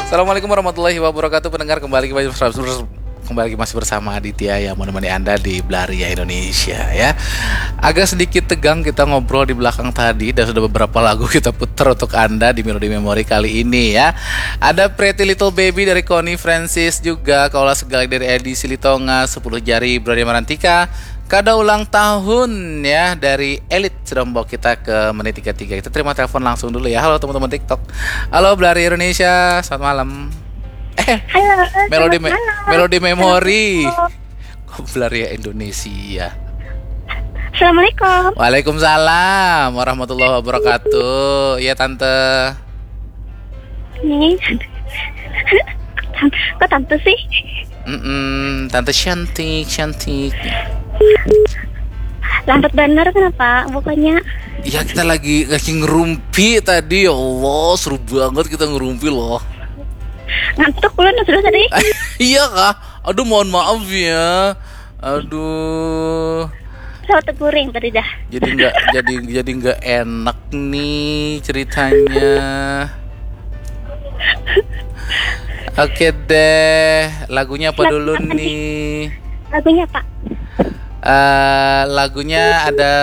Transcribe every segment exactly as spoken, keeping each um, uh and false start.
Assalamualaikum warahmatullahi wabarakatuh. Pendengar, kembali kembali kembali masih bersama Aditya yang menemani Anda di Belaria Indonesia, ya. Agak sedikit tegang kita ngobrol di belakang tadi, dan sudah beberapa lagu kita putar untuk Anda di Melody Memory kali ini, ya. Ada Pretty Little Baby dari Connie Francis juga, Kaulah Segala dari Edi Silitonga, Sepuluh Jari Brody Marantika, Kada Ulang Tahun, ya, dari Elit sudah membawa kita ke menit tiga tiga. Kita terima telepon langsung dulu, ya. Halo, teman-teman TikTok. Halo, Belaria Indonesia, selamat malam. Eh, Halo, Melody selamat Me- malam. Melody Memory. Assalamualaikum. Kok Belaria Indonesia? Assalamualaikum. Waalaikumsalam warahmatullahi wabarakatuh. Ya, Tante. Nih. Kok tante sih? Mm-mm, Tante cantik, cantik. Lambat bener kenapa? Bukannya Ya, kita lagi lagi ngerumpi tadi, ya Allah, seru banget kita ngerumpi loh. Ngantuk ulun sudah tadi. Iya kah? Aduh, mohon maaf ya. Aduh, Pesawat teguring tadi dah. jadi nggak jadi jadi nggak enak nih ceritanya. Oke deh, lagunya apa dulu nih? Lagunya apa? Eh, lagunya ada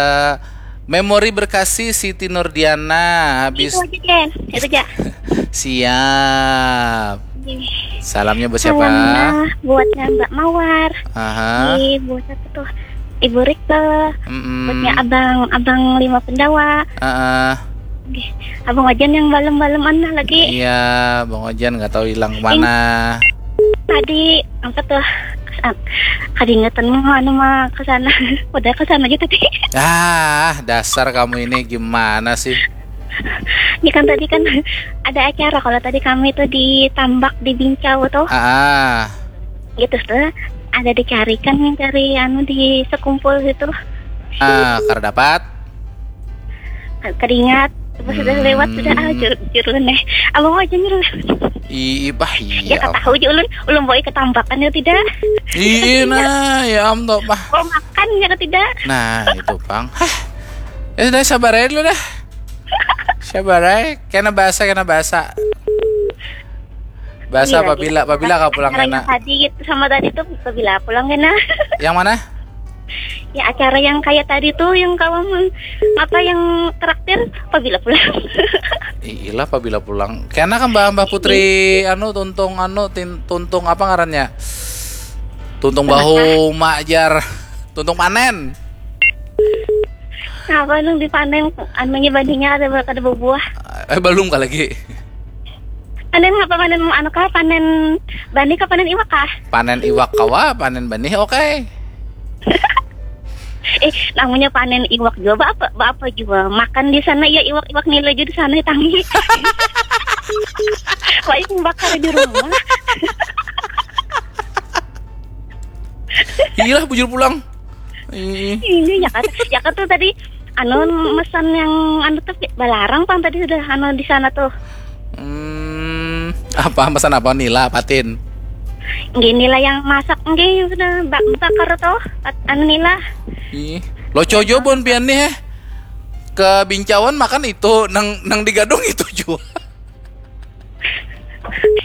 Memori Berkasih, Siti Nurdiana. Habis Itu aja, Ken. Itu aja. Siap. Oke. Salamnya buat siapa? Salamnya buatnya Mbak Mawar. Aha. Di buat apa tuh? Ibu Rika. Mm-mm. Buatnya abang abang lima pendawa. Heeh. Oke. Abang Ojan yang balem-balem mana lagi? Iya, Bang Ojan nggak tahu hilang kemana. Tadi apa tuh? Ah, kada ingatan mau anu mah ke sana. Udah ke sana aja tadi. Ah, dasar kamu ini gimana sih? Ini kan tadi kan ada acara kalau tadi kami tuh di Tambak di Bincau tuh. Ah, ah. Gitu tuh. Ada dicarikan nih dari anu di sekumpul gitu. Ah, kada dapat. Keringat pas sudah Hmm. Lewat sudah ah jur jurun deh. Abang aja nyuruh. Ih, bah, Ya iya. kata tahu aja ulun ulun bawa ke Tambakan ya tidak. Ih, nah, ya am toh, bah. Bawa makan ya tidak. Nah, itu pang. Hah. Ya sudah, sabar aja dulu dah. Sabar aja. Kena bahasa, kena bahasa. Bahasa Iya, apabila iya. apabila kau pulang Acara yang kena. Tadi gitu sama tadi tuh apabila pulang kena. Yang mana? Ya acara yang kayak tadi tuh yang kawan apa yang traktir apabila pulang. Iyalah, apabila pulang. Kena kan Mbah Mbah Putri anu tuntung anu tin, tuntung apa ngarannya? Tuntung bahu majar. Tuntung panen. Apa nung dipanen anunya bandingnya ada ada berbuah. Eh, belum kah lagi. Panen apa panen anu kah panen bani kah panen iwak kah? Panen iwak kawa, panen benih oke. Eh, namanya panen iwak juga apa apa juga makan di sana ya iwak-iwak nila juga di sana tangi. Wah, bakar di rumah. Iyalah, bujur pulang. Ih. Ini ya kan, ya kan tuh tadi anu mesan yang anu tuh balarang pang tadi sudah anu di sana tuh. Hmm, apa pesan apa nila patin? Gini lah yang masak nggih sudah bak bakar tuh at- anu nila. Ih, lo cojo bon pian nih eh. Ke Bincauan makan itu nang nang di Gadung itu juga.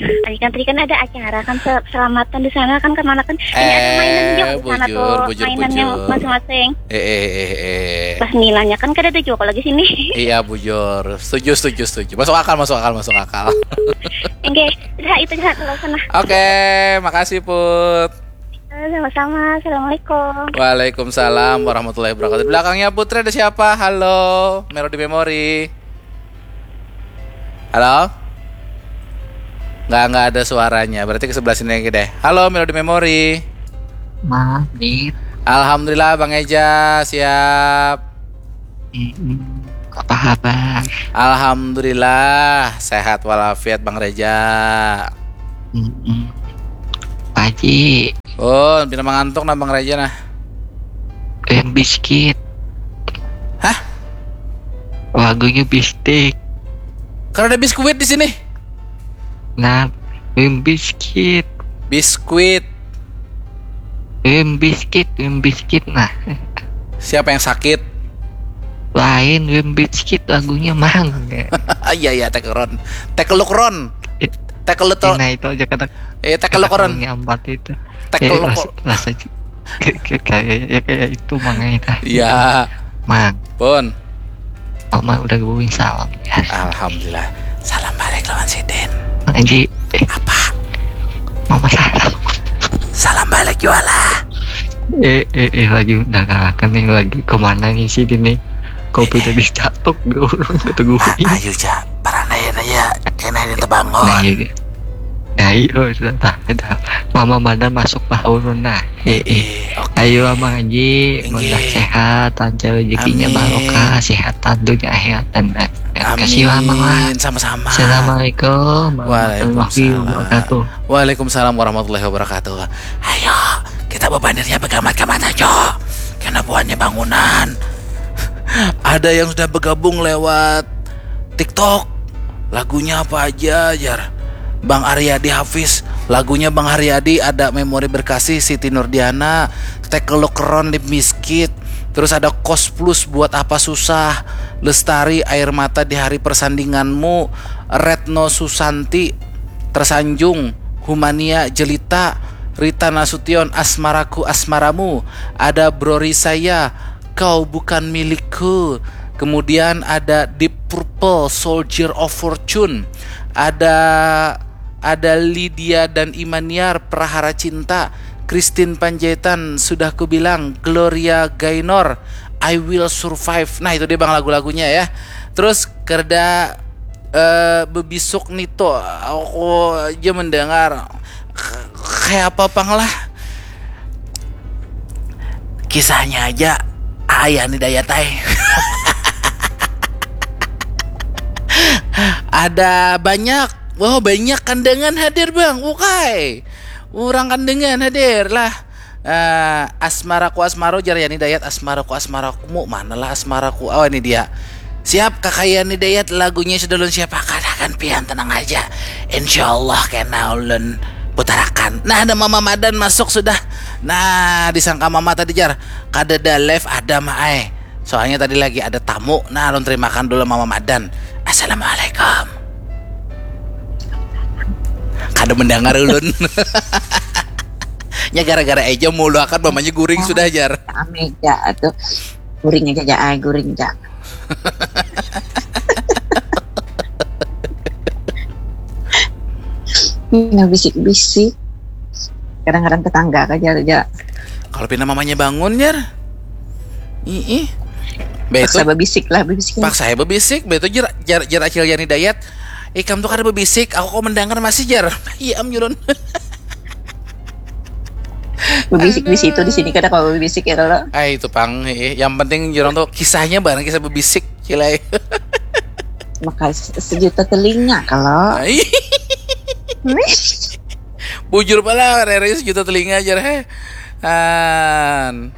Tadi kan tadi kan ada acara kan se- selamatan di sana kan kemana kan ini ada mainan Eh, juga di sana bujur, tuh bujur, mainannya bujur. Masing-masing. Eh eh eh eh. Pas nilainya kan kada ada juga lagi sini. Iya, bujur. Setuju, setuju, setuju. Masuk akal, masuk akal, masuk akal. Oke, dah itu dah kalau sana. Oke, makasih Put. Eh, Sama-sama. Assalamualaikum. Waalaikumsalam warahmatullahi wabarakatuh. Di belakangnya Putri ada siapa? Halo, Melody Memory. Halo? Nggak, nggak ada suaranya. Berarti ke sebelah sini lagi deh. Halo, Melody Memory. Maaf, Dit. Alhamdulillah, Bang Eja, siap. Mm-mm. Apa kabar? Alhamdulillah, sehat walafiat, Bang Reja. Mm-mm. Pak Haji, Oh, pina mangantuk nah, Bang Reja nah. eh, biskuit. Hah? Lagunya bistik. Karena ada biskuit di sini. Nah, em, biskuit. Biskuit. Em, biskuit, em, biskuit. Nah, Siapa yang sakit? lain em, biskuit lagunya mang. Ah, iya, iya, take a run. Take a look, Ron. Eh. Tackle lo to. Nah, itu aja kata Eh, tackle lo koron. Nyambat itu. Tackle Eh, lo ras- ko- rasa j- kayak kayak ya, kayak itu mangai tah. Ya, Mang, pun. Mama udah gabung salam ya. Alhamdulillah. Salam balik lawan sidin. Mang Aji, eh, Apa? Mama salam. Salam balik juga lah. Eh, eh, eh, lagi mendengarkan nih, lagi kemana nih sih ini? Kopi tadi jatuh, gue orang keteguhin. Ayo ja, parandayan aja. Kena ini Nah, terbangun. Iya. Nah, iya, sudah, dah, dah. Mama Madan masuk lah, urun, nah. Eh, eh. Eh, oke. Ayo, Mang Aji, Inggih. mudah sehat, lancar rezekinya, Amin. Barokah, sehat dunia akhirat dan akhirat. Kasih lah, Mang lah. Amin. Sama-sama. Assalamualaikum warahmatullahi Waalaikumsalam. Wabarakatuh. Waalaikumsalam warahmatullahi wabarakatuh. Ayo, kita bebanirnya begamat-gamat aja. Kena buahnya bangunan. Ada yang sudah bergabung lewat TikTok. Lagunya apa aja, jar? Bang Aryadi Hafiz. Lagunya Bang Aryadi ada Memori Berkasih, Siti Nurdiana, Tekel Lokeron, Limp Bizkit. Terus ada Kos Plus, Buat Apa Susah, Lestari, Air Mata di Hari Persandinganmu, Retno Susanti, Tersanjung, Humania, Jelita, Rita Nasution, Asmaraku Asmaramu, ada Brori Saya, Kau Bukan Milikku, kemudian ada Deep Purple, Soldier of Fortune, ada ada Lydia dan Imaniar, Prahara Cinta, Christine Panjaitan, Sudah Kubilang, Gloria Gaynor, I Will Survive. Nah, itu dia, Bang, lagu-lagunya ya. Terus kerda eh bebisuk nito, aku aja mendengar. K- kayak apa pang lah. Kisahnya aja ayah ni dayat ai. Ada banyak. Wah, banyak Kandangan hadir, Bang. Ukai. Orang Kandangan hadir lah. Eh, Asmaraku Asmaro, jar Yani Dayat. Asmaraku Asmarakumu, manalah Asmaraku? Oh, ini dia. Siap, Kakak Yani Dayat, lagunya sudah ulun siapakan akan pian, tenang aja. Insya Allah kena ulun putarakan. Nah, ada Mama Madan masuk sudah. Nah, disangka Mama tadi, jar. Kadada live ada, Ma ai. Soalnya tadi lagi ada tamu. Nah, ulun terimakan dulu Mama Madan. Assalamualaikum. Kada mendengar ulun. Nya gara-gara Eja mulu akan mamanya guring sudah, jar. Ame ja atuh. Guring aja ja ai, guring ja. Nah, bisik-bisik. Kadang-kadang tetangga aja aja. Kalau pina mamanya bangun, jar. Ih, ih. Betul. Paksa babisik lah, babisik. Paksa ya bebisik, betul, jar, jar, jar Acil Yani Dayat. Ikam tuh kada bebisik, aku kok mendengar masih, jar. Iya, am, julun. Babisik di situ, di sini kada kalau babisik ya kalau. Ah, itu pang, eh, yang penting jurang tuh kisahnya bareng kisah bebisik, cilai. Maka se- sejuta telinga kalau. Ai, bujur pala, rere sejuta telinga, jar, he. An.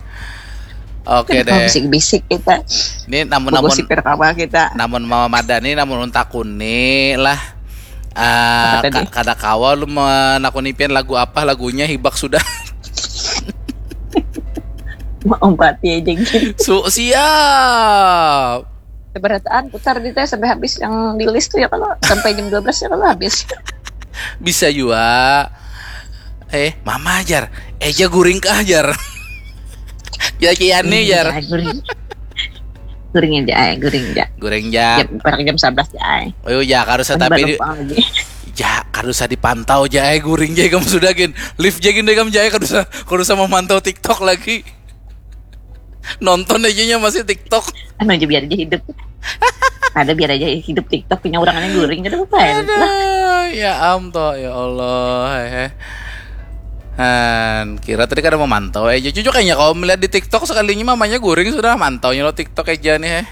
Oke Kalau deh. bisik-bisik kita. Ini namun namun Gosip kawa kita. Namun Mama Madani, namun untakuni lah. Ah, Apa tadi? ka- kada kawa lu menakuni pian lagu apa, lagunya hibak sudah. Mau empati aja gitu. Su siap. Seberataan putar di teh sampai habis yang di list tuh ya kalau sampai jam dua belas ya kalau habis. Bisa juga. Eh, Mama, jar. Eja guring kah, jar? Ya, kian nih, jar. Ya, guring. Guring aja, ay, guring aja. Guring, ja. Jam, barang jam sebelas ya, ay. Oh, ya, kada usah Kan tapi baru di, pulang lagi. ja, kada usah dipantau, ja, eh, guring, ja, kamu sudah, gin. Live, ja, gin, deh, kamu, ja, eh, kada usah, kada usah memantau TikTok lagi. Nonton aja nya masih TikTok. Anu aja biar aja hidup. Ada biar aja hidup TikTok punya orang yang guring, ada apa ya? Aduh, ya am toh, ya Allah, hehe. Han, kira tadi kada memantau, eh, jujur kayaknya kalau melihat di TikTok sekalinya mamanya guring sudah mantaunya lo TikTok aja nih, heh.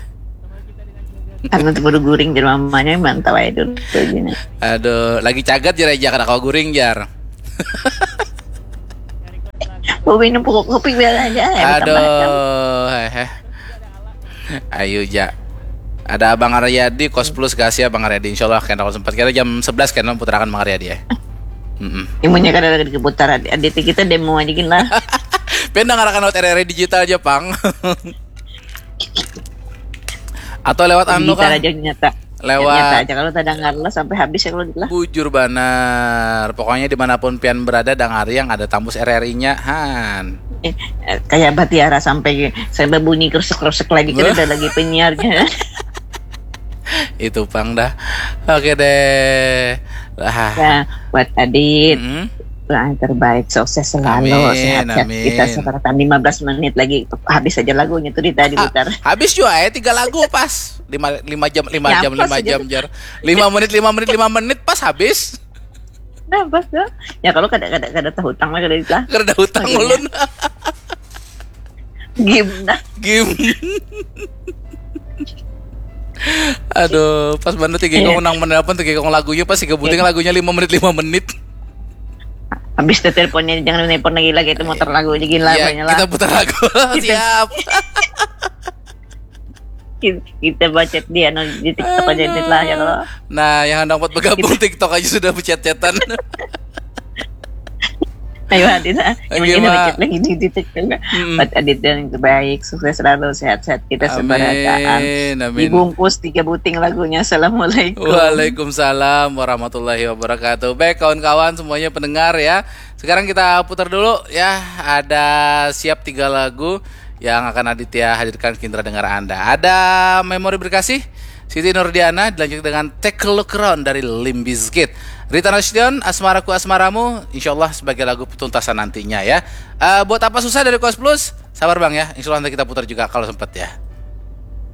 Anu tuh baru guring di mamanya mantau aja dulu tuh gini. Aduh, lagi cagat, jar, aja kada kau guring, jar. Mau minum pokok kopi biar aja ya. Aduh, hehe. Ayo, ja. Ada Abang Aryadi, Kos Plus, kasih Abang Aryadi. Insya Allah kena sempat kira jam sebelas kena puterakan Bang Aryadi ya. Mm-mm. Imunya kada ada di putaran. Adit kita demo aja gini lah. Pian dengarakan lewat R R I digital aja, pang. Atau lewat anu Digital kah? Aja nyata. Lewat. Nyata aja kalau tak dengar lah sampai habis ya kalau gitu lah. Bujur banar. Pokoknya dimanapun pian berada, dangari yang ada Tambus R R I-nya, han. Eh, eh, kayak Batiara sampai sampai bunyi kresek-kresek lagi, kita ada lagi penyiarnya. Itu pang dah. Oke deh. Lah. Ya, buat Adit. Mm-hmm. Yang terbaik, sukses selalu, amin, sehat-sehat amin. Kita sekarang lima belas menit lagi, habis aja lagunya tuh di tadi putar. Ah, habis juga ya, tiga lagu pas. Lima, lima jam, lima ya, jam, lima jam, jar. Lima menit, lima menit, lima menit, pas habis. Nah, pas tuh. Ya kalau kada kada kada tahu utang lah kada lah. Kada tahu utang ulun. Game nah. Game. Aduh, pas banget tiga kong nang menelpon tiga kong lagunya pas tiga buting lagunya lima menit lima menit. Habis tuh teleponnya jangan nelpon lagi lagi itu muter lagu aja gila ya, lah. Kita putar lagu. Siap. Kita bacet di anu di TikTok aja edit lah ya kalau. Nah, yang hendak buat bergabung TikTok aja sudah bacet-cetan. Ayo Adit, ah. Yang ini bacet lagi di, di TikTok. Hmm. Buat Adit yang terbaik, sukses selalu, sehat-sehat kita sebarataan. Amin. Dibungkus tiga buting lagunya. Assalamualaikum. Waalaikumsalam warahmatullahi wabarakatuh. Baik kawan-kawan semuanya pendengar ya. Sekarang kita putar dulu ya. Ada siap tiga lagu yang akan Aditya hadirkan ke indra dengar Anda. Ada Memori Berkasih, Siti Nurdiana, dilanjut dengan Take a Look Around dari Limp Bizkit. Rita Nasution, Asmaraku Asmaramu, insya Allah sebagai lagu tuntasan nantinya ya. Uh, buat apa susah dari Kos Plus? Sabar bang ya, insya Allah nanti kita putar juga kalau sempat ya.